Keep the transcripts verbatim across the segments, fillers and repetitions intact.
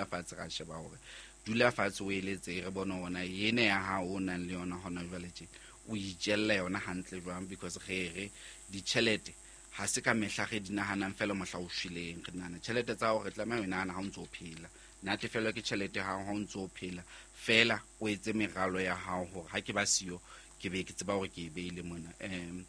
Fatshe ra sheba hore dula fatshe o eletse re bone hore na ene ya hao o nang le yona hona jwale tje o itjella yona hantle jwang, because re re ditjhelete ha se ka mehla re di nahanang fela mohla o shweleng. Re nahana tjhelete tsa hao re tlameha ho e nahana ha o ntso o phela. Natefelwa ke tjhelete ya hao ha o ntso o phela fela, o etse meralo ya hao hore ha ke ba siyo ke be ke tseba hore ke e beile mona. um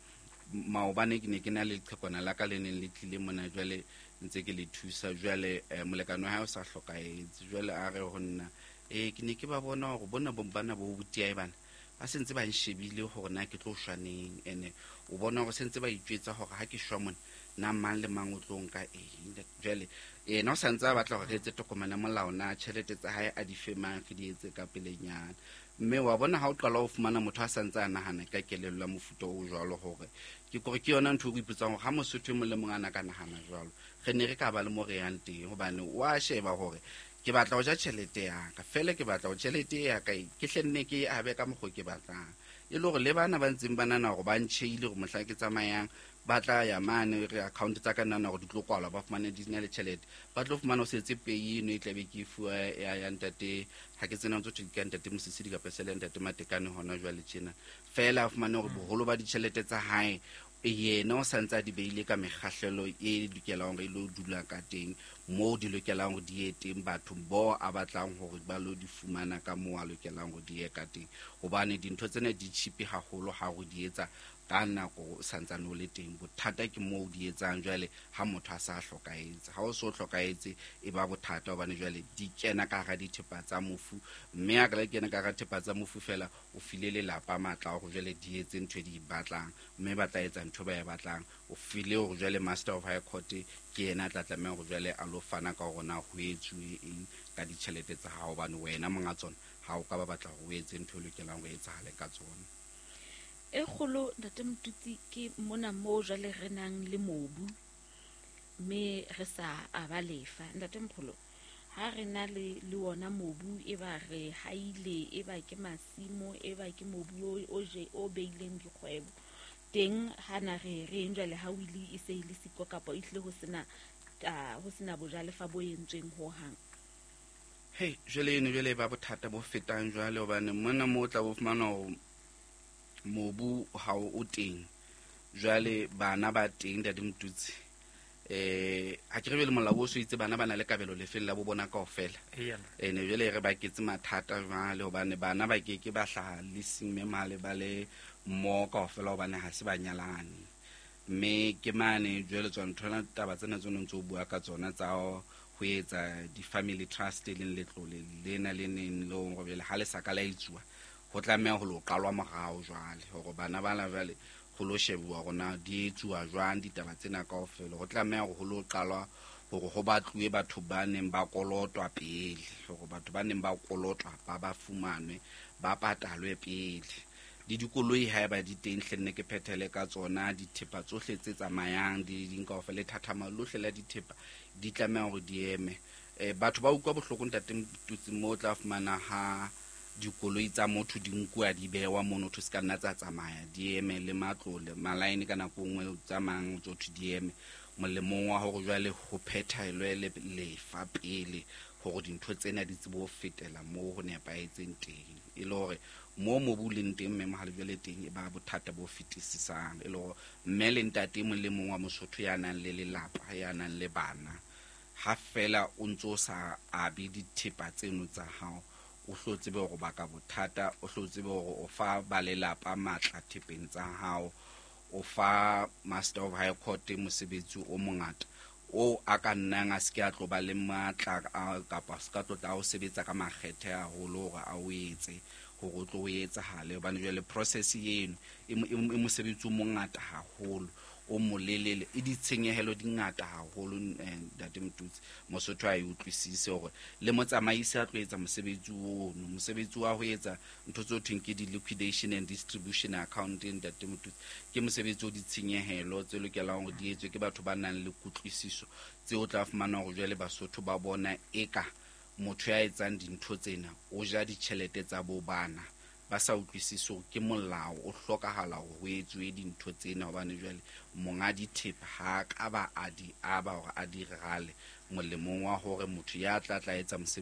maobane ke ne ke na le leqhekwana la ka le neng le tlile mona, jwale ntse ke le thusa. Jwale eh, molekane wa hae o sa hlokahetse, jwale a re ho nna, eh ke ne ke ba bona hore bona bo bana bo botiae bana ba sentse ba nshebile hore na ke tlo shwa neng, ene o bona hore sentse ba itjwetsa hore ha ke shwa mona na mang le mang o tlo nka eng. Jwale yena o santse a batla hore re etse tokomane ya molao na tjhelete tsa hae a di fe mang, re di etse ka pelenyana. Mme wa bona ha o qala ho fumana motho a santse a nahana ka kelello ya mofuta o jwalo, hore ke kore ke yona ntho e o ipotsang hore ha Mosotho e mong le mong a na ka nahana jwalo, re ne re ka ba le mo re yang teng. Hobane wa sheba hore ke batla ho ja tjhelete ya ka fela, ke batla ho tjhelete ya ka ke hle nne ke e abe ka mokgwa ke batlang, e le hore le bana ba ntseng ba nahana hore ba ntjheile hore mohla ke tsamayang ba tla ya mane re account tsa ka nahana hore di tlo kwalwa, ba fumane di na le tjhelete, ba tlo fumana ho setse pay eno e tlabe ke e fuwa ya ya ntate, ha ke tsena ntse thwe ke ya ntate Mosisili kapa se le ya ntate Matekane hona jwale tjena. Fela a fumane hore boholo ba ditjhelete tsa hae yena o santse a di beile ka mekgahlelo e lokelang hore e lo dula ka teng, moo di lokelang hore di ye teng, bathong bo a batlang hore ba lo di fumana ka moo a lokelang hore di ye ka teng. Hobane dintho tsena di cheap haholo ha o di etsa ka nako o santsane o le teng. Bothata ke moo o di etsang jwale ha motho a sa hlokahetse. Ha o so hlokahetse e ba bothata, hobane jwale di kena ka hara dithepa tsa mofu, mme ha ka kena ka hara thepa tsa mofu fela o file lelapa matla a hore jwale di etse ntho e di batlang, mme ba tla etsa ntho ba e batlang. O file hore jwale Master of High Court ke yena a tla tlameha hore jwale a lo fana ka hore na ho etsuwe eng ka ditjhelete tsa hao, hobane wena monga tsona ha o ka ba batla hore o etse ntho e lokelang hore e etsahale ka tsona. E kgolo ntate Motutsi ke mona moo jwale re nang le mobu mme re sa aba lefa. Ntate Mpholo, ha re na le le wona mobu, e ba re haile, e ba ke masimo, e ba ke mobu o o je o beileng dikgwebo teng, ha na re reng jwale ha o ile e se e le siko kapa e hlile ho sena ho sena bojalefa bo entsweng ho hang? Hei, jwale eno jwale e ba bothata bo fetang jwale, hobane mona moo o tla bo fumana hore mobu ha o teng, jwale bana ba teng ntate Motutsi. Eh ha ke re le molao o so itse bana ba na le kabelo lefeng la bo bona kaofela, ene jwale re baketse mathata jwale, hobane bana ba ke ke ba hlaha le seng male ba le mmoho kaofela, hobane ha se ba nyalane. Mme ke mane jwale tswa nthona taba tsena tse o ntso bua ka tsona tsa ho etsa di-family trust, e leng letlole lena le neng le hore jwale ha le sa ka la etsuwa, ho tlameha ho lo qalwa morao jwale hore bana bana jwale ho lo shebuwa hore na di etsuwa jwang ditaba tsena kaofela. Ho tlameha hore ho lo qalwa hore ho batluwe batho ba neng ba kolotwa pele, hore batho ba neng ba kolotwa ba ba fumanwe ba patalwe pele. Le dikoloi haeba di teng hle nne ke phethele ka tsona, dithepa tsohle tse tsamayang di ding kaofela, lethathama lohle la dithepa di tlameha hore di eme. Eh batho ba utlwa bohloko ntate Motutsi, moo o tla fumana ha dikoloi tsa motho di nkuwa di bewa mono, thwe se ka nna tsa tsamaya, di eme le matlole malaene ka nako e nngwe tsamayang tso thwe di eme, molemong wa hore jwale ho phethelwe le lefa pele hore dintho tsena di tsebe ho fetela moo ho nepahetseng teng. E le hore moo mobu o leng teng mme mohale jwale teng e ba bothata bo fetisisang, e le hore mme le ntate e mong le mong wa Mosotho ya nang le lelapa, ya nang le bana, ha fela o ntso sa abe dithepa tseno tsa hao, o hlo tsebe hore baka bothata, o hlo tsebe hore o fa ba lelapa matla thepeng tsa hao, o fa Master of High Court mosebetsi o mongata o a ka nnang a se ke a tlo ba le matla kapa a se ka tlo tla o sebetsa ka makgethe haholo hore a o etse hore o tlo o etsahale. Hobane jwale process eno e mosebetsi o mongata haholo, o molelele, e ditshenyehelo di ngata haholo ntate Motutsi. Mosotho a e utlwisise hore le motsamaisi a tlo etsa mosebetsi ono, mosebetsi wa ho etsa ntho tse thweng ke di-liquidation and distribution account ntate Motutsi, ke mosebetsi o ditshenyehelo tse lokelang hore di etswe ke batho ba nang le kutlwisiso, tseo o tla fumana hore jwale Basotho ba bona eka motho ya etsang dintho tsena o ja ditjhelete tsa bo bana, ba sa utlwisise hore ke molao o hlokahala hore ho etsuwe dintho tsena, hobane jwale monga dithepa ha ka ba a di aba hore a di rale, Molemong wa hore motho ya tla tla etsa mosebetsi.